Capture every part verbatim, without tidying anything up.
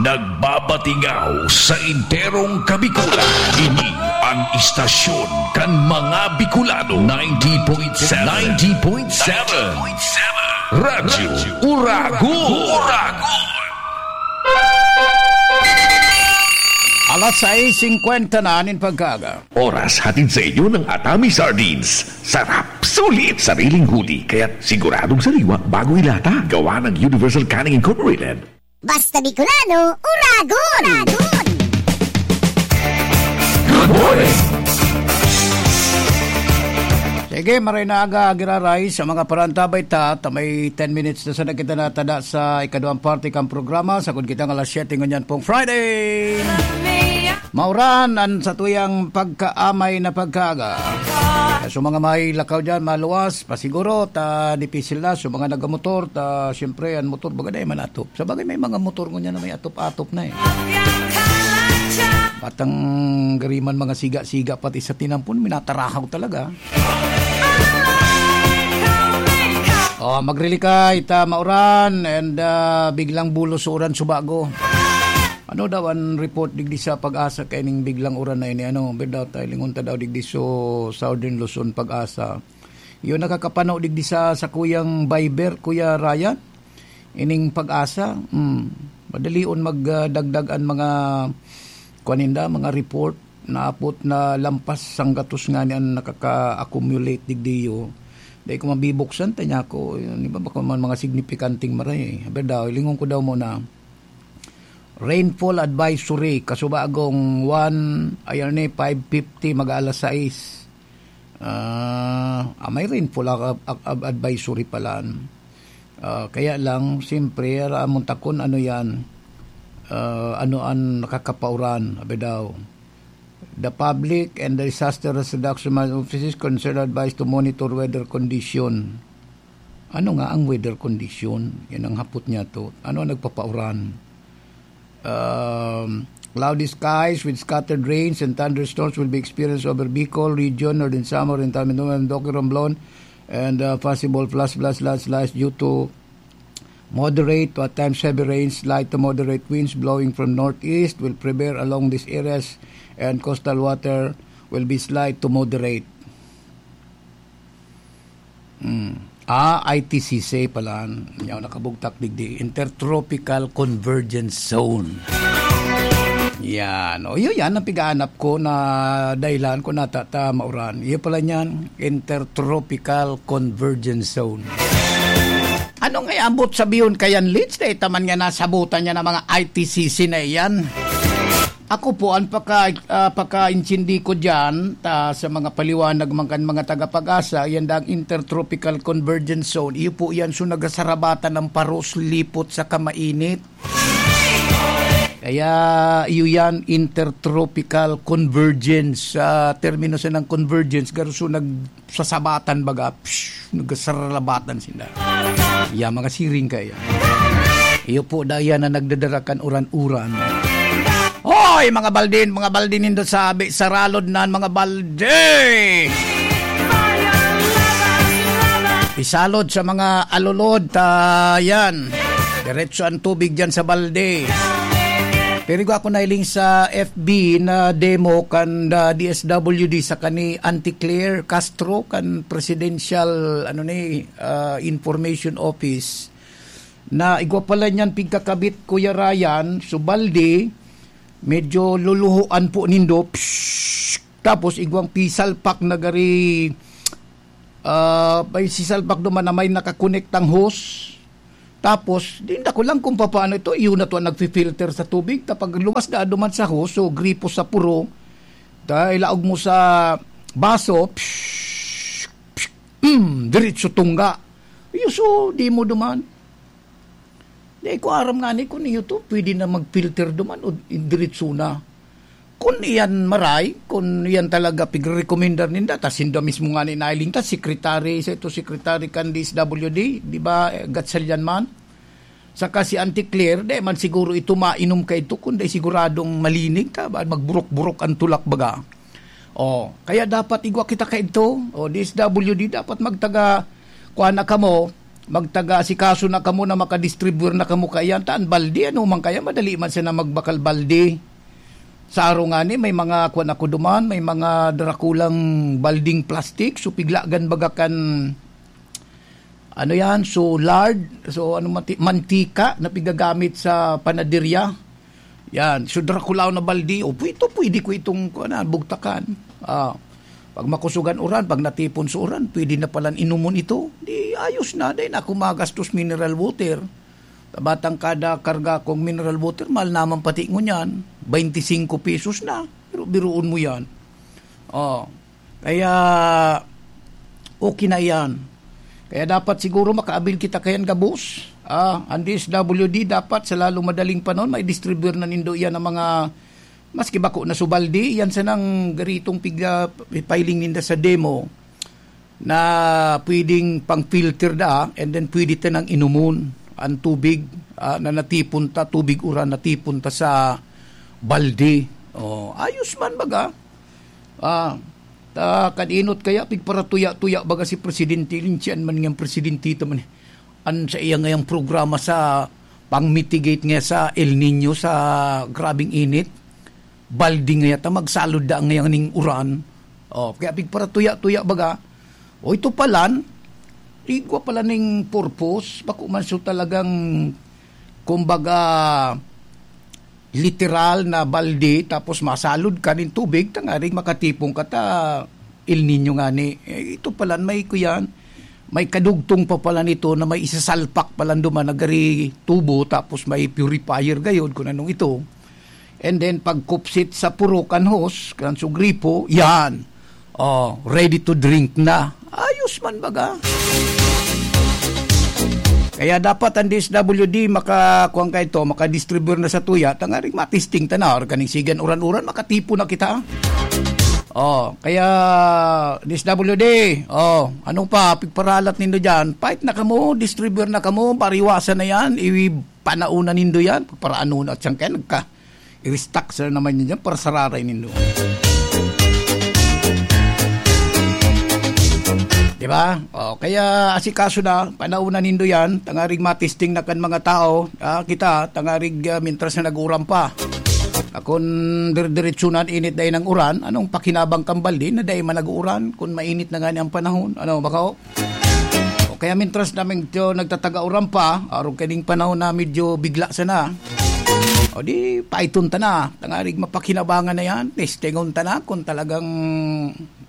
Nagbabatingaw sa enterong Kabikulan. Ini ang istasyon kan mga Bicolano, ninety point seven. Ninety point seven. Radyo Uragon. Alas sais singkwenta na nin pagkaaga. Oras hatid sa inyo ng Atami Sardines. Sarap, sulit, sariling huli, kaya't siguradong sariwa bago ilata. Gawa ng Universal Canning Incorporated. Basta Bicolano, Uragon! Good morning! Sige, maray na aga, giraray sa mga parantabay ta, ta may ten minutes na sana kita natada sa ikaduhang parte kang programa, sagkod kita ng alas siyete ngunyan pong Friday. Mauran an satuyang pagkaamay na pagkaaga. So, mga may lakaw dyan, maluwas, pasiguro, ta dipisil na. So, mga nagamotor, ta, siyempre, an motor, baga dai man atop. Sa bagay, may mga motor ngunyan na may atop-atop na eh. Patang gariman mga siga-siga, pati sa tinampon, minatarahaw talaga. Oh, magrili ka, ita mauran, and, ah, biglang bulos uran subago. Ano daw an report digdi sa Pag-asa kaining biglang uran na ini? Ano, birda tayo, lingon ta daw digdi so Southern Luzon, Pag-asa. Yun, nakakapano digdi sa, sa kuyang Viber, Kuya Ryan? Ining Pag-asa? Hmm. Madalion mag, ah, dagdag an mga, kuwan ninda, mga report. Naapot na lampas sanggatos nga ni an nakaka-accumulate digdiyo. Dai ko mabibuksan, tanya ko. Yun, di ba, baka man mga signipikanting maray. Birda, lingon ko daw muna. Rainfall advisory, kasubagong one, ayan ni, five fifty, mag-aalas sais. Ah, ah, may rainfall a-, a-, a-, advisory pala. Ah, kaya lang, siyempre, aramon ta kun ano yan, ah, ano an nakakapauran, abi daw. The public and the disaster risk reduction offices concerned advised to monitor weather condition. Ano nga ang weather condition? Yan ang hapot niya to. Ano ang nagpapauran? Um, cloudy skies with scattered rains and thunderstorms will be experienced over Bicol region, Northern Samar, Entire Mindoro, and Roque, Romblon, and, uh, possible flash flood, landslides due to moderate to at times heavy rains, light to moderate winds blowing from northeast will prevail along these areas, and coastal water will be slight to moderate. Hmm. Ah, I T C C pala. Yaw, nakabugtak digdi. Intertropical Convergence Zone. Yan. O, yun yan ang pigaanap ko na dahilan ko natata mauran. Iyo pala niyan, Intertropical Convergence Zone. Ano nga abot sabihon kayan, Lids? Dahil taman nga nasabutan niya ng mga I T C C na iyan. Ako po, ang paka-, ah, pakaintindi ko diyan, ta, sa mga paliwanag man kan mga taga-Pag-asa, yan daang Intertropical Convergence Zone. Iyo po yan, so nagasarabatan ng paros, lipot sa kamainit. Kaya iyo yan, Intertropical Convergence. Sa termino sa ng convergence, garo so nag-, sasabatan baga, psh, nagsaralabatan sinda. Ya, mga siring kaya. Iyo po, daya na nagdadara kan uran-uran. Hoy, mga baldin, mga baldin nindo sabi, saralod na ang mga balde! Isalod sa mga alulod, ta yan. Diretso ang tubig dyan sa balde. Pero ako nailing sa F B na demo kan, ah, D S W D sa kani Auntie Claire Castro kan Presidential, ano ni, ah, Information Office, na igwa pala niyan pigkakabit, Kuya Ryan, so balde, medyo luluhoan po nindo. Psh! Tapos igwang pisalpak na gari, ah, may sisalpak duman na may nakakonektang hose. Tapos, di, nako lang kung papaano ito, iyo na to ang nagfi-filter sa tubig. Ta pag luwas na duman sa hose, so gripo sa puro, ta ilaog mo sa baso, psh, psh, mm, diretso tungga. Iyo, so, di mo duman. Di ko aram nga ni kung iyo to, pwede na mag-filter duman o diretso na. Kun iyan maray, kun iyan talaga pigrekomendar ninda, ta sinda mismo nga ni nailing ta, secretary, sa ito secretary kan D S W D, di ba, eh, Gatchalian man? Saka si Auntie Claire, di man siguro ito mainom ka ito, kun di siguradong malinig ta, ba, magburok-burok ang tulak baga. Oh, kaya dapat igwa kita ka ito, o D S W D, dapat magtaga, kuha na kamo, magtaga-asikaso na kamo na makadistribuyar na kamo kaiyan. Ta an balde, ano man kaya, madali man siya na magbakal balde. Sa araw ngani, may mga, kuwan ako duman, may mga darakulang balding plastic. So, piglagan baga kan, ano yan, so lard, so ano, manti-, mantika na pigagamit sa panaderya. Yan, so drakulaw na baldi, o pwede, pwede ko itong, kuwan na, bugtakan. Ah, pag makusog an uran, pag natipon sa uran, pwede na palan inumon ito. Di ayos na, dahil ako magastos mineral water. Tabatang kada karga kong mineral water, mahal naman pati ngunyan. Bainti singko pesos na. Pero biruon mo yan. Oh, kaya okay na yan. Kaya dapat siguro makaabil kita kayan gabos. Ah, ang D S W D dapat sa lalong madaling panahon, may distribuer na nindo yan ang mga, maski bako na subaldi, yan sanang garitong pigla-, piling ninda sa demo na pwedeng pang-filter da, and then pwede ta nang inumon ang tubig, ah, na natipon ta, tubig uran natipon ta sa balde. Oh, ayos man baga. Ah, ta, kan inot kaya, pigparatuya-tuya baga si Presidente Lin, siyan man ngang presidente ta man. An sa iya ngayang programa sa pang-mitigate nga sa El Niño, sa grabing init, balde ngaya ta magsalod da ngaya ning uran. Oh, kaya pigparatuya-tuya baga. O, ito palan, igwa pala ning purpose, bako man so talagang, kumbaga, literal na balde, tapos masalod ka nin tubig, tangaring makatipon ka ta El Niño ngani. Eh, ito palan, may kuyan, may kadugtong pa pala nito na may isasalpak pala duman na gari tubo, tapos may purifier gayod, kung anong ito. And then, pagkupsit sa puro kan hose, kan su gripo, yan. Oh, ready to drink na. Ayos man baga. Kaya dapat ang D S W D maka-, kuwan ka ito, makadistribute na sa tuya, tangaring matisting ta na, or kaning sigan uran-uran, makatipon na kita. Oh, kaya D S W D, oh, ano pa, pigparalat nindo dyan? Fight na kamo, distribute na kamo, pariwasan na yan, iwi-, panauna nindo yan, para ano na siyang kaya nagka-, i-restock sila naman yun dyan, para sararay nindo. Di ba? O, kaya asikaso na, panauna nindo yan, tangarig matisting na kan mga tao, ah, kita, tangarig, ah, mintras na nag-uran pa. Akon dire-diretso na an init dai nang uran, anong pakinabang kan balde na dai man nag-uuran kun mainit na ngani ang panahon? Ano, bako? O kaya mintras na medyo nagtataga-uran pa, arog kaning panahon na medyo bigla sana. O di, paiton ta na. Tangarig mapakinabangan na yan. Testingon ta na kung talagang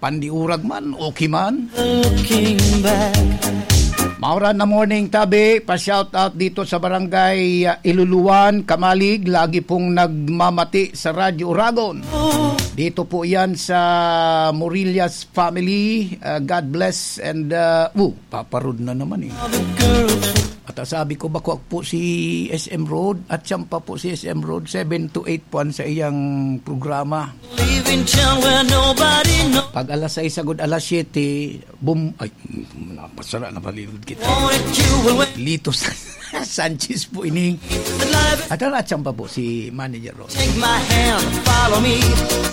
pandiurag man, okay man. Looking back. Mauran na morning, tabi. Pa-shout out dito sa barangay, ah, Iluluan, Kamalig. Lagi pong nagmamati sa Radyo Uragon. Dito po yan sa Murillas family. Ah, God bless and, ah, oh, Papa Rod na naman eh. At, ah, sabi ko, bako po si S M Road at siyang pa po si S M Road, seven to eight po ang sa iyang programa. Leaving town where nobody knows. Pag alas sais agud alas siyete, bum-, ay, napasara, napalilod kita. Wanted you away. Lito Sa-, Sanchez po ini. The life At ang atsang pa po si Manager Ron. Take my hand, follow me.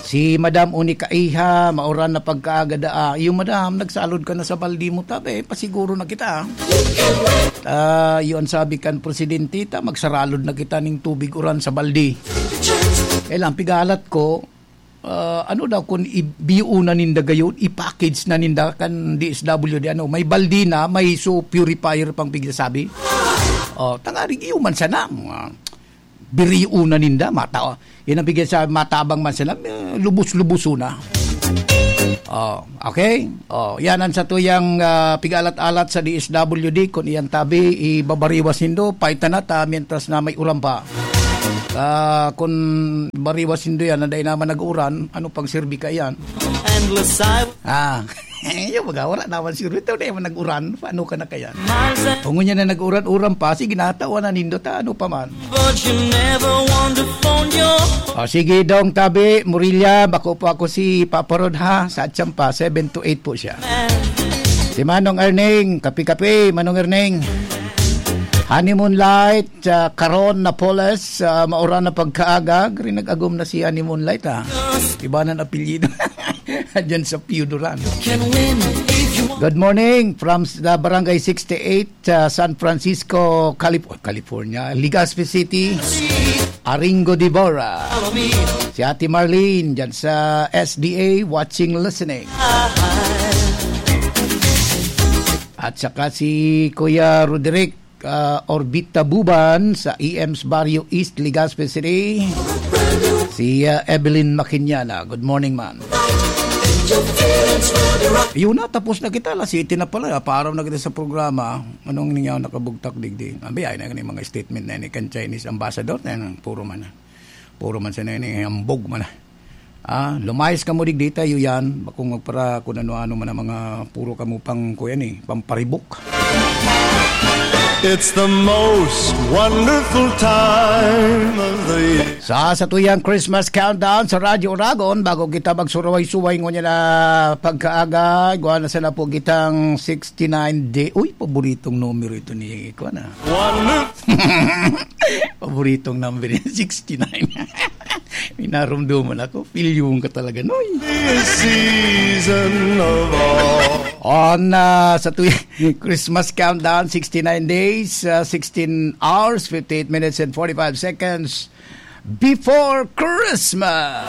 Si Madam Unica Iha, mauran na pagkaaga daa. Iyo, madam, nagsalod ka na sa baldi mo, tabi, pasiguro na kita. Ah, iyo ang sabi kan presidente ta, magsaralod na kita ning tubig uran sa baldi. Eh lang, pigalat ko, ah, ano daw kun i-, biunan ninda gayon, i-package na ninda kan D S W D, ano, may baldi na, may so purifier pang pigsasabi. Oh, tangarig iyo man sana, mga biriuna ninda, mata-, yan ang bigyan sa matabang man sila, eh, lubos-lubuso na. Oh, okay? Oh, yan ang satuyang, ah, pigalat-alat sa D S W D. Kung iyan tabi, ibabariwas nindo, paitan na ta, mientras na may uran pa. Ah, kung bariwas nindo yan, na dahil naman nag-uran, ano pang sirbi ka yan? Endless silence. Ah. Yung mga wala naman siguro. Ito na yung nag-uran. Paano ka na kaya? Miles and Kung ngunyan na nag-uran-uran pa, sige, natawa na nindo ta, ano pa man. But you never want to phone your O, sige, Dong Tabi, Murilla, bako po ako si Papa Rod, ha? Sa Atsampa, seven to eight po siya. Man. Si Manong Erning, kapi-kapi, Manong Erning. Honeymoon Light, ah, Karon Napoles, ah, mauran na pagkaaga, gari nag-agom na si Honeymoon Light, ha? Iba na ang apelyido. Diyan sa Pio Duran. Can win if you Good morning from the Barangay sixty-eight, uh, San Francisco, Calif- California, Legazpi City. Aringo Dibora. Si Ate Marlene dyan sa S D A, watching, listening. At saka si Kuya Roderick, ah, Orbita Buban sa E M's Barrio East, Legazpi City. Si, ah, Evelyn Makinyana. Good morning, man. Yun na, tapos na kita. Alas siyete na pala. Paaraw na kita sa programa. Anong ninyo nakabugtak digdi? Abi, ay na yung mga statement na ni kan Chinese ambassador. Na yun, puro man na. Puro man sa na yun, eh, ambog man na. Ah, lumayas ka mo digdi tayo yan. Bakong magpara kung ano-ano man ang mga puro kamo pang, kuya ni, pamparibok. It's the most wonderful time of the year. Sa satuyang Christmas countdown sa Radyo Oragon, bago kita magsuraway-suway ngunyan na pagkaaga, igwa na sana po kitang sixty-nine day. Uy, paboritong numero ito ni, kuwan, ah. Wonderful. Paboritong number niya, sixty-nine. May narumduman ako. Pilyong ka talaga, Noy. Season of all. On, ah, sa tuwing Christmas countdown, sixty-nine days, ah, sixteen hours, fifty-eight minutes and forty-five seconds before Christmas.